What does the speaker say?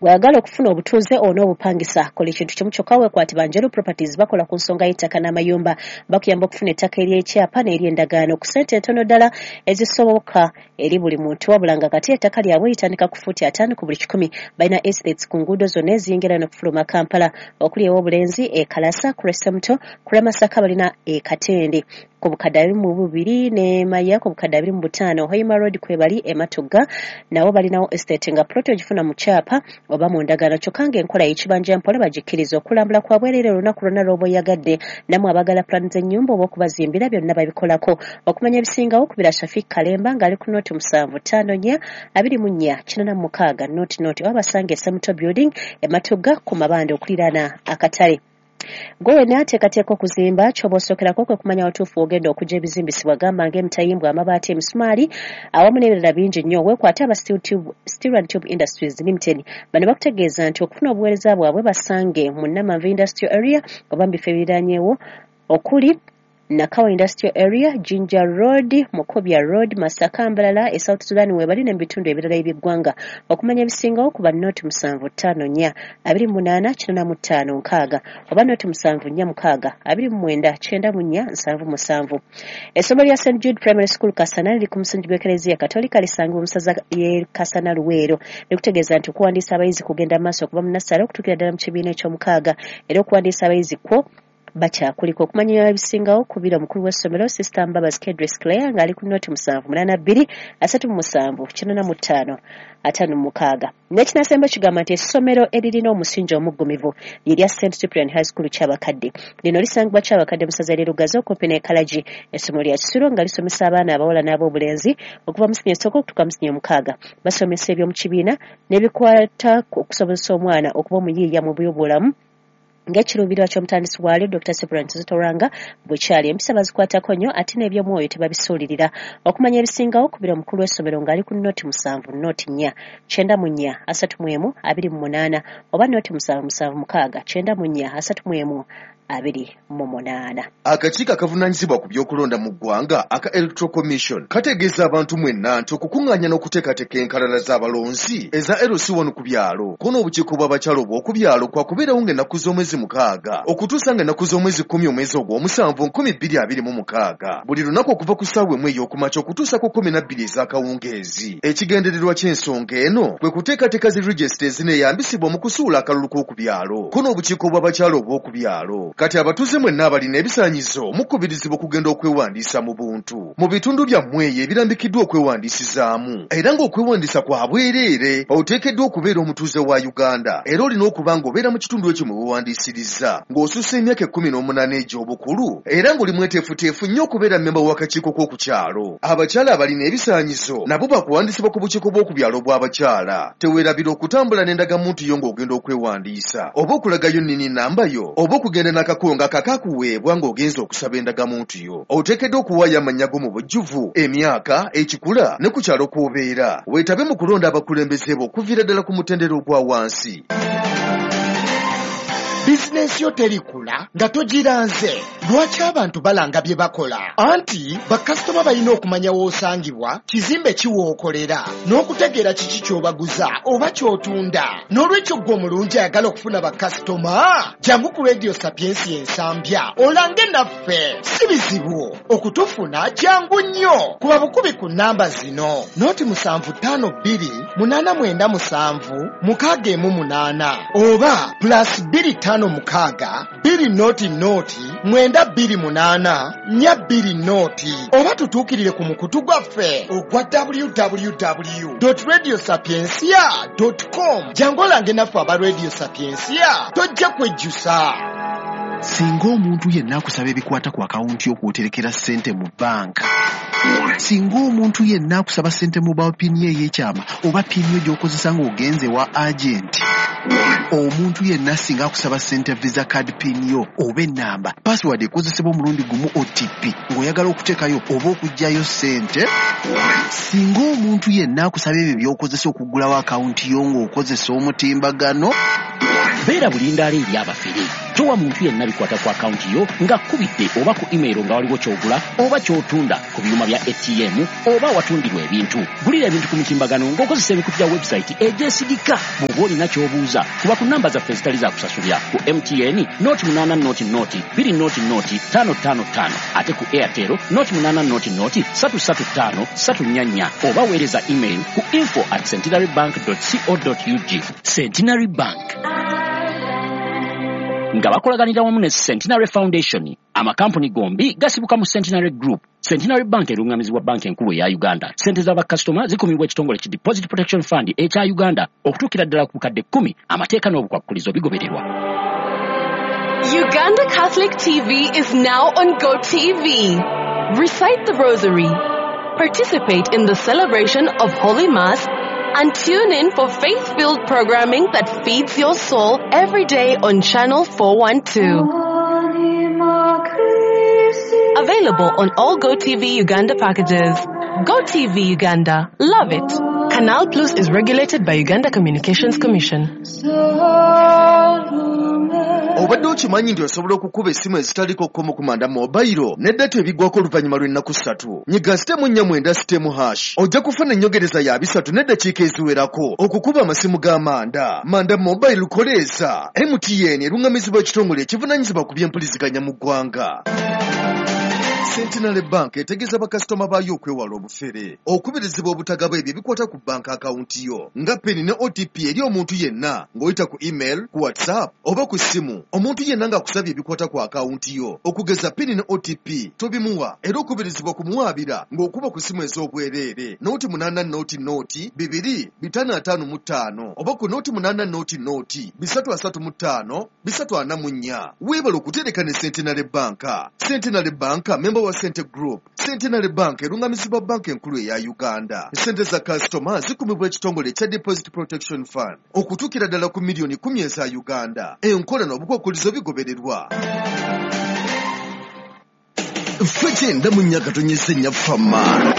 Bw'ayagala okufuna obutuuze onoobupangisa, kola ekintu kimu kyokka, weekwate ba Njeru Properties. Bakola ku nsonga y'ettaka n'amayumba. Bakuyamba okufuna ettaka ery'ekyapa n'ery'endagaano ku ssente entono ddala ezisoboka eri buli muntu, wabula nga kati ettaka lyabwe litandika ku fuuti 50 ku buli 100. Balina estates ku nguudo zonna eziyingira n'okufuluma Kampala, okuli ew'Obulenzi, e Kalasa, ku Lw'Essemuto, ku Lw'Emasaka. Balina e Katende ku bukadde 22 ne Maya ku bukadde 25. Hoima Road kwebali. E Matugga nabo balinawo estate, nga plot ogifuna mu kyapa oba mu ndagaano, kyokka ng'enkola y'ekibanja mpola bagikkiriza. Okulambula kwa bwereere olunaku lwonna lw'oba oyagadde. Nammwe abagala plan z'ennyumba oba okubazimbira, byonna babikolako. Okumanya ebisingawo, kubira Shafik Kalemba ng'ali ku 0754 24 86 00, oba basange Semuto Building e Matugga ku mabanda okuliraana akatale. Gwe wenna ateekateeka okuzimba, ky'oba osookerako kwe kumanya watuufu w'ogenda okujja ebizimbisibwa, gamba ng'emitayimbwa, amabaati, emisumaali awamu n'ebirala bingi nnyo. Weekwate aba Steel and Tube Industries Limited. Bano bakutegeeza nti okufuna obuweereza bwabwe, basange mu Namanve Industrial Area oba mu bifo ebiriraanyewo okuli Nakawa Industrial Area, Jinja Road, Mukobya Road, Masaka, Mbalala, e South Sudan webali ne mu bitundu ebirala eby'eggwanga. Okumanya ebisingawo, kuba 0754 28 85 60 oba 0746 29 94 77. Essomero lya St Jude Primary School Kasana liri ku musingi gw'Ekereziya Katolika, lisangibwa mu ssaza y'e Kasana, Luweero. Likutegeeza nti okuwandiisa abayizi kugenda mu maaso okuva mu nursery okutuukira ddala mu kibiina eky'omukaaga, era okuwandiisa abayizi kwo bakyakuliko. Okumanya ebisingawo, kubira omukulu w'essomero, Sister Mbabazi Kedris Clare, ng'ali ku 0782 37 85 56. N'ekinasemba kigamba nti essomero eririna omusingi omuggumivu lye St Cyprian High School Kyabakadde. Lino lisangibwa Kyabakadde mu ssaza ly'e Lugazi, okumpi n'e Kalagi. Essomero lya kisulo nga lisomesa abaana abawala n'ab'obulenzi okuva mu siniya esooka okutuuka mu siniya omukaaga. Basomesa eby'omu kibiina n'ebikwata okusobozesa omwana okuba omuyiiya mu byobulamu, ng'ekiruubirirwa ky'omutandisi waalyo Dr Cyprian Kizito Lwanga bwe kyali. Empisa bazikwatako nnyo, ate n'ebyomwoyo tebabisuulirira. Okumanya ebisingawo, kubira omukulu w'essomero ng'ali ku 070 04 94 31 28 oba 0776 94 31 28. Akakiiko akavunaanyizibwa ku by'okulonda mu ggwanga aka Electoral Commission kategeeza abantu mwenna nti okukuŋŋaanya n'okuteekateeka enkalala z'abalonzi eza LC1 ku byalo ko n'obukiiko bw'abakyala obw'oku byalo kwakubeerawo ng'ennaku z'omwezi 6 okutuusa ng'ennaku z'omwezi 10 omwezi ogw'omusanvu 2026, buli lunaku okuva ku ssaawa 1 ey'okumakya okutuusa ku 12 ez'akawungeezi. Ekigendererwa ky'ensonga eno kwe kuteekateeka zi register ezineeyambisibwa mu kusuula akalulu k'oku byalo ko n'obukiiko bw'abakyala obw'oku byalo. Kati abatuuze mwenna abalina ebisaanyizo mukubirizibwa okugenda okwewandiisa mu buntu mu bitundu byammwe eyo ebirambikiddwa okwewandiisizaamu, era ng'okwewandiisa kwa bwereere. Oteekeddwa okubeera omutuuze wa Uganda, era olina okuba ng'obeera mu kitundu ekyo mwe weewandiisiriza, ng'osussa emyaka 18 egy'obukulu, era ng'oli mweteefuteefu nnyo okubeera mmemba w'akakiiko k'oku kyalo. Abakyala abalina ebisaanyizo nabo bakuwandiisibwa ku bukiiko bw'oku byalo bw'abakyala. Teweerabira okutambula n'endagamuntu yo ng'ogenda okwewandiisa, oba okulagayo NIN number yo, oba okugenda n'akakongo akakakuweebwa ng'ogenza okusaba endagamuntu yo. Oteekeddwa okuwaayo amannya go mu bujjuvu, emyaka, ekikula ne ku kyalo kw'obeera. Weetabe mu kulonda abakulembeze bo okuviira ddala ku mutendera ogwa wansi. Bizinensi yo terikula nga togiranze. Lwaki abantu balanga bye bakola? Anti bakasitoma balina okumanya w'osangibwa, kizimbe ki w'okolera, n'okutegeera kiki ky'obaguza oba ky'otunda. N'olwekyo ggwe omulungi ayagala okufuna bakasitoma, jangu ku Radio Sapiensia Ensambya olange naffe. Si bizibu okutufuna, jangu nnyo. Kuba bukubi ku namba zino: 0752 897 618 oba +256 200 928 420, oba tutuukirire ku mukutu gwaffe ogwa www radio sapiencia com. Jangu olange naffe aba Radio Sapiencia, tojja kwejjusa. Singa omuntu yenna akusaba ebikwata ku akawunti y'okwoterekera ssente mu bbanka, singa omuntu yenna akusaba ssente mobile PIN yo ey'ekyama oba PIN yo gy'okozesa ng'ogenze wa agenti, omuntu yenna singa akusaba ssente Visa card PIN yo oba ennamba, password ekozesebwa omulundi gumu OTP ng'oyagala okuteekayo oba okuggyayo ssente, singa omuntu yenna akusaba ebyo by'okozesa okuggulawo akawunti yo ng'okozesa omutimbagano, Beera bulindaala eri abafere. Towa muntu yenna bikwata ku akawunti yo ng'akkubidde oba ku email nga waliwo ky'ogula oba ky'otunda ku byuma bya ATM oba awatundirwa ebintu. Gulira ebintu ku mitimbagano ng'okozesa emikutu gya website egyesigika. Bw'oba olina ky'obuuza, kuba ku namba zaffe ezitali za kusasulira ku MTN 080 020 555, ate ku Airtel 080 335 344, oba weereza email ku info@centenarybank.co.ug. Centenary Bank nga bakolaganira wamu ne Centenary Foundation. Amakampuni gombi gasibuka mu Centenary Group. Centenary Bank erungamizibwa Banka Enkulu eya Uganda. Sente z'abakasitoma zikumibwa ekitongole ki Deposit Protection Fund ekya Uganda okutuukira ddala ku bukadde 10. Amateeka n'obukwakkulizo bigobererwa. Uganda Catholic TV is now on GoTV. Recite the Rosary, participate in the celebration of Holy Mass, and tune in for faith-filled programming that feeds your soul every day on Channel 412. Available on all GoTV Uganda packages. GoTV Uganda. Love it. Canal Plus is regulated by Uganda Communications Commission. Obadde okimanyi nti osobola okukuba essimu ezitaliko kkomo ku Manda Mobile ne data ebiggwako oluvannyuma lw'ennaku 3? Nyiga *49*#, ojja kufuna ennyongereza ya 3 n'eddakiika eziwerako okukuba amasimu ga Manda. Manda Mobile koleeza. MTN erungamizibwa ekitongole ekivunaanyizibwa ku by'empuliziganya mu ggwanga. Centenary Bank etegeeza bakasitoma baayo okwewala obufere, okubirizibwa obutagaba ebyo ebikwata ku banka akawunti yo nga PIN ne OTP eri omuntu yenna ng'oyita ku email, ku WhatsApp oba ku ssimu. Omuntu yenna ng'akusabye ebikwata ku akawunti yo okugeza PIN ne OTP tobimuwa, era okubirizibwa kumuwaabira ng'okuba ku ssimu ez'obwereere 080 0 2 555 oba ku 080 335 344. Weebale okutereka ne Centenary Bank. Centenary Bank member wa Sente Group. Centenary Bank erungamizibwa Banka Enkulu eya Uganda. Sente za kasitoma zikumibwa ekitongole ekya Deposit Protection Fund okutuukira ddala ku miliyoni 10 eza Uganda. Enkola n'obukwakkulizo bigobererwa. Ffe 94.4 Fama.